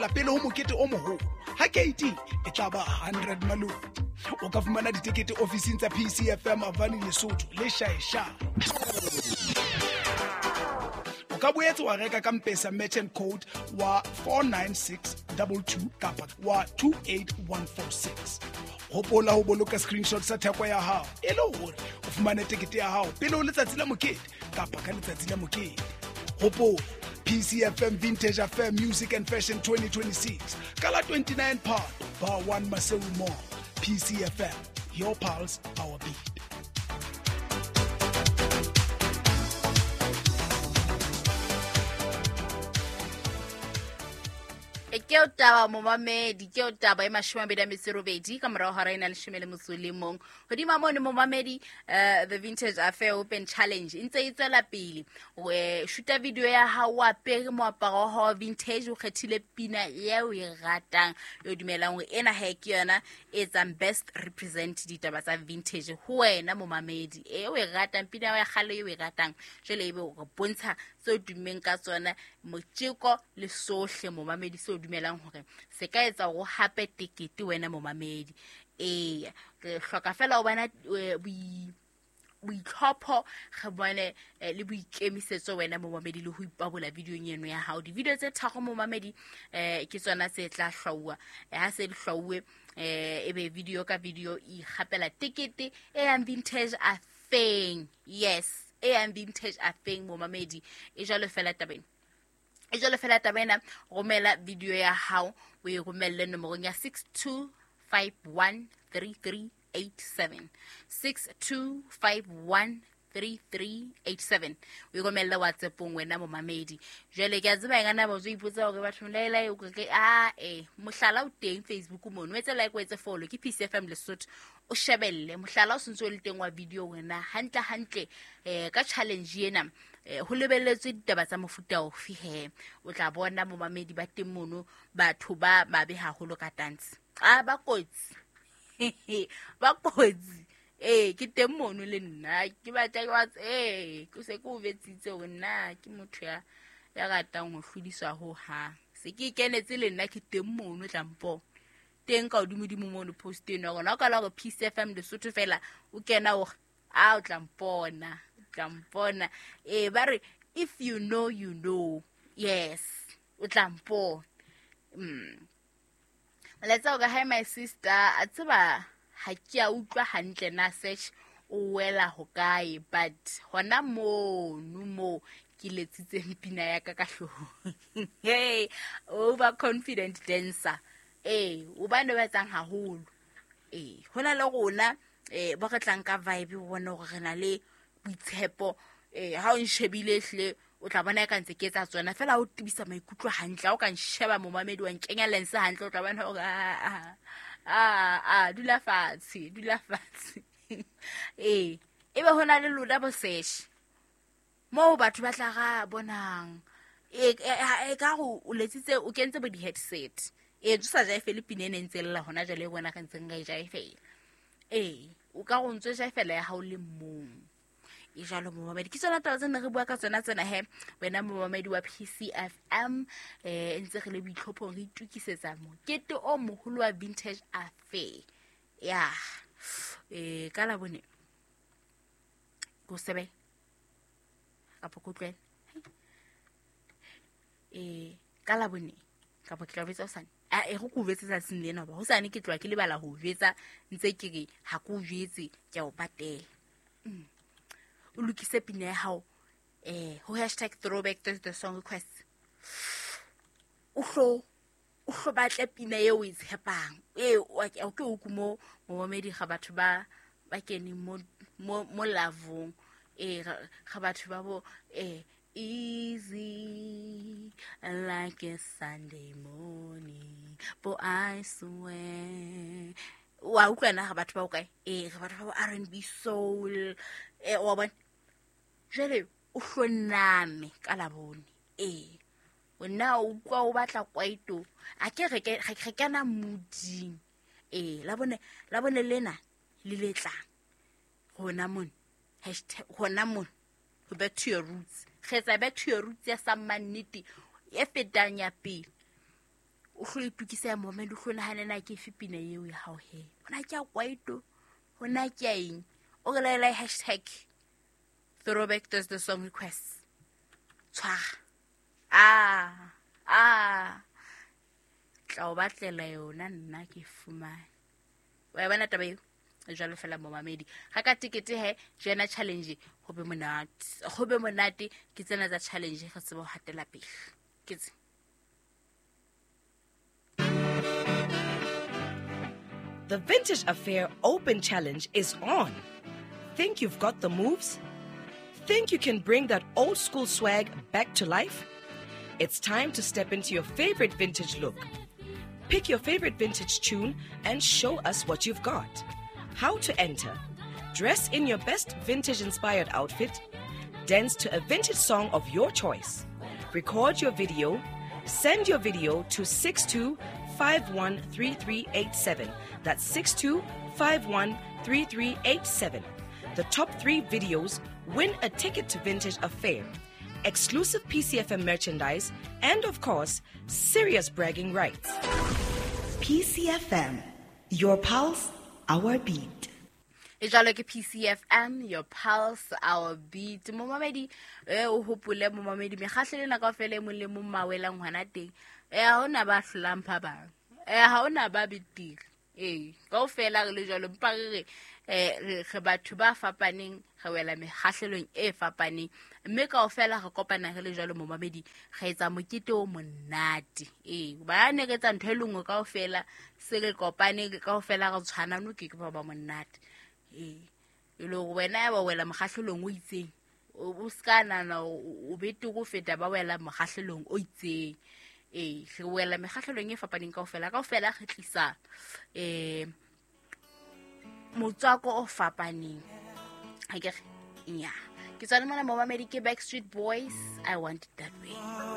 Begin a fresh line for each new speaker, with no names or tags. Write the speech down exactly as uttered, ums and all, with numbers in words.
feela pele ho mokete o moholo. Ha keiting e tla ba hundred malome. O ka fumana ditekete ofising tsa P C F M Avani Lesotho le Shaeshae. O ka boetse wa reka ka M-Pesa merchant code wa four nine six two two kapa wa two eight one four six. Hopola ho boloka screenshot sa theko ya hao e le hore o fumane tekete ya hao pele ho letsatsi la mokete kapa ka letsatsi la mokete. Hopola P C F M Vintage Affair Music and Fashion twenty twenty-six ka la twenty-nine Phato Bar one Maseru Mall. P C F M, your pulse, our beat.
Ke o taba momamedi, ke o taba e mashome a mabedi a metso e robedi ka morao hora ena leshome le motso o le mong. Hodima mono momamedi, uh, the Vintage Affair Open Challenge e ntse e tswela pele. O eh, shoota video ya hao o apere moaparo wa hao wa vintage, o kgethile pina eo o e ratang, e o dumelang hore ena ha ke yona e etsang best represent ditaba tsa vintage ho wena momamedi. E o e ratang pina ya kgale e o e ratang, jwale ebe o re bontsha tseo tummeng ka tsona, motjeko le sohle momamedi seo dumelang hore se ka etsa hore o hape tekete wena momamedi. Ee, re hloka fela ho bona, eh, boi-, boitlhopho, re bone, eh, le boikemisetso wena momamedi le ho ipabola videong eno ya hao. Di-video tse tharo momamedi, eh, ke tsona tse tla hlwauwa. Eh, ha se di hlwauwe, eh, ebe video ka video e ikgapela tekete e yang Vintage Affair. Yes, e yang Vintage Affair momamedi. E jwalo fela tabeng. E jwalo fela taba ena, romela video ya hao o e romelle nomorong ya six two five one three three eight seven. six two five one three three eight seven. O e romelle WhatsApp-ong wena momamedi. Jwale ke a tseba e kana ba o ipotsa hore batho laela e ke a e mohlala o teng Facebook mono. O etse like, o etse follow ke P C F M Lesotho. O shebelle mohlala o sentse o le teng wa video wena hantle hantle, eh, ka challenge ena. Eh, ho lebelletswe ditaba tsa mofuta ofe he? O tla bona momamedi ba teng mono, batho ba babe haholo ka dance. Ah, ba kotsi. Ba kotsi. Eh, ke teng mono le nna. Ke batla ke wa tse, eh, ke se ke o betsitse hore nna ke motho ya, ya ratang ho hlodiswa ho hang. Se ke ikenetse le nna ke teng mono tlampo. Teng ka hodimodimo mono post eno ya rona. O ka la hore P C F M Lesotho fela o kena hore, ah, o tla mpona. Tla mpona. Eh, ba re if you know, you know. Yes, o tla mpona. Mm. Molaetsa o ka, hi my sister, a tseba ha ke a utlwa hantle na search o wela hokae, but hona mono mo ke letsitseng pina ya ka ka hloohong. Hey, overconfident dancer. Eh, o ba ne ba etsang haholo. Eh, hona le rona, eh, ba re tlang ka vibe o bona hore re na le boitshepo. Eh, ha o nshebile hle o tla bona e ka ntse ke etsa tsona fela, o tibisa maikutlo hantle. Ha o ka nsheba momamedi wa nkenya lense hantle, o tla bona hore, ah, ah, ah, dula fatshe, dula fatshe. Eh, ebe hona le lona bo sesh moo batho ba tla ra bonang. E, e, e ka go o letsitse, o kentse bo di-headset. E, o sa jaefele pina e ne ntse lla hona jwale, e bona re ntseng re e jaefela. E, o ka go ntso jaefela ya hao le mong. E jwalo momamedi, ke tsona taba tse ne re bua ka tsona tsena he wena momamedi wa P C F M. Eh, ntse re le boitlhophong, re itukisetsa mokete o moholo wa Vintage Affair. Ya, eh, ka la bone ko sebe kapa ko utlwele. Eh, ka la bone kapa ke tla betsa hosane. A e go ko jwetse tsatsing lena, hoba hosane ke tloha ke lebala ho jwetsa, ntse ke re ha ke o jwetse ke a o patela. Mm. O lokise pina ya hao, eh, ho hashtag throwback Thursday song request. O hlo, o hlo batle pina eo o e tshepang. Eh, o ke o ke o kumo momamedi ga batho ba, ba keneng mo, mo, mo lavong. Eh, ga, ga batho ba bo, eh, easy like a Sunday morning, but I swear. Wa utlwa na ga batho ba o kae? Eh, ga batho ba bo R and B soul. Eh, wa bona? Jwale o hloname ka labone. Eh, wena o utlwa o batla kwaito. A ke re ke, re kena mooding. Eh, labone, labone lena le letlang. Hona mona. Hashtag hona mona. Go back to your roots. Re etsa back to your roots ya sa mannete e fetang ya pele. O O hlo itukise ya momedi, o hlo nahane na ke efe pina eo ya hao he. Hona ke ya kwaito, hona ke ya eng. O re laela hashtag Throwback Thursday song requests. Tshwara. Ah, ah. Tla o batlela yona nna ke fumane. Wa bona taba eo? Jwalo fela momamedi. Ga ka tikete he, jena challenge ho be monate. Ho be monate ke tsena tsa challenge re tsebe ho hatela pele. Ke tse.
The Vintage Affair Open Challenge is on. Think you've got the moves? Think you can bring that old school swag back to life? It's time to step into your favorite vintage look. Pick your favorite vintage tune and show us what you've got. How to enter? Dress in your best vintage-inspired outfit. Dance to a vintage song of your choice. Record your video. Send your video to six two five one three three eight seven. That's six two five one three three eight seven. The top three videos win a ticket to Vintage Affair, exclusive P C F M merchandise, and of course, serious bragging rights.
P C F M, your pulse, our beat.
E jwalo ke P C F M, your pulse, our beat. Momamedi, eh, o hopole momamedi, mekgahlelo ena kaofela e mong le mong mawelang hona teng. Eh, ha hona ba hlolang ba bang. Eh, ha hona ba betere. Eh, kaofela re le jwalo, mpa re re, eh, re, re batho ba fapaneng, re wela mekgahlelong e fapaneng. Mme kaofela re kopana re le jwalo momamedi, re etsa mokete o monate. Eh, ba ne re etsa ntho e le nngwe kaofela, se re kopane kaofela re tshwana, no ke ke ba ba monate. Eh, e le hore wena ya ba wela mokgahlelong o itseng, o, o ska nahana o, o betere ho feta ba wela mokgahlelong o itseng. Eh, re wela mekgahlelong e fapaneng kaofela, kaofela re tlisa, eh, motswako o fapaneng. Ha ke re, nya. Ke tswa le mona momamedi ke Backstreet Boys, I Want It That Way.